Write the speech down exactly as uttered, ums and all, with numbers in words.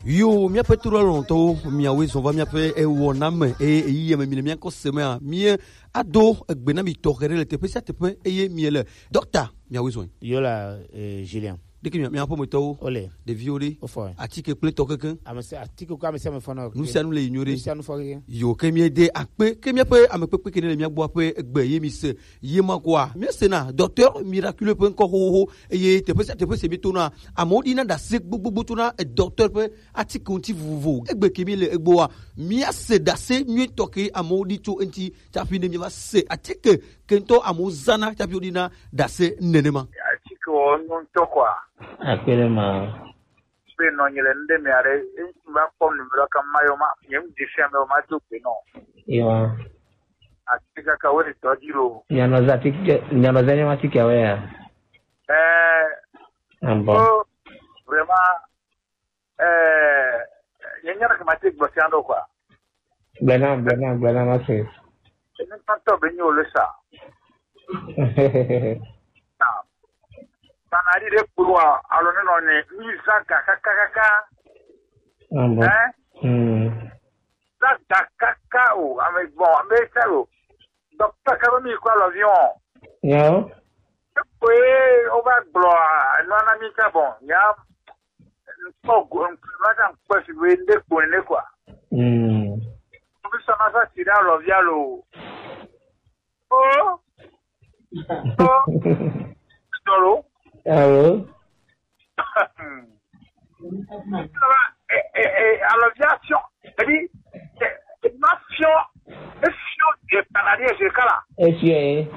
Yo, míaƒe toɖoalɔtɔwo, miawoe zɔ va míaƒe ewɔna me, eye ɣeyiɣi me mi le míakɔ se mea, mie ado egbe na mi tɔxɛ ɖe le teƒe sia teƒe, eye mie le dɔkta, miawoe zɔe. Yo la, eh, Julien. Ɖeke mia, miaƒe metɔwo, ole, ɖeviwo ɖe, ofɔ, atike kple tɔ kekeŋ. Ame sia, atike ko ame sia ame fɔ na. Nu sia nu le yi nyuie ɖe. Nu sia nu fɔ kekeŋ. Yo, ke mie de akpe, ke míaƒe ame kpekpe ke ne le mía gbɔ ƒe egbe ye mi se, ye ma koa, míesena Docteur Miraculeux ƒe ŋkɔ xoxoxo, eye teƒe sia teƒe si míetona, amewo ɖina ɖase gbogbogbo tsona Docteur ƒe atike ŋuti vovovo. Egbe ke míele egbɔa, míase ɖase nyuitɔ ke amewo ɖi tso eŋuti tsaƒi ne míava se atike ke ŋutɔ amewo zãna tsaƒi woɖina ɖase nenema. Atike wo nyo ŋutɔ kɔa? Akpe ɖe ma. Be nɔ nyi le nu ɖe mea ɖe, ŋutsu va kpɔ nu ɖe ka ma yɔ ma, nye ŋu dze fia me ma do gbe nɔ. Ewa. Ati kaka wo le tɔ dzi lo. Nyanɔza tike, nyanɔza nyama tike awe ya. Eh. Ambo. Oh, vraiment, eh, nye nyana ke ma te gblɔ sia ɖo quoi. Gblɔna, gblɔna, gblɔna ma se. Ne tɔntɔ be nyo le sa. Sana ɖi ɖe kploa, alo ne nɔ ne, mi zã ga kaka kaka. Ambo. Eh? Hmm. Zã ga kaka o, ame gbɔ, ame ta lo. Dɔkita ka be mi kɔ alɔviɔn. Yo. Koe, o va gblɔ, a, nɔ na mi ta bon, nya, nkpɔ go, nkpɔ, ma ta nkpɔ si be nde kpɔ ne quoi. Hmm. Ko bi sa ma sa si ɖe alɔvia lo. Oh. Oh. Tolo. Alo. Ça va, eh, eh, eh, alors, viens, fion. Elle dit, eh, eh, ma fion, eh, fion, eh, paradis, je kala. Efiɔ ye.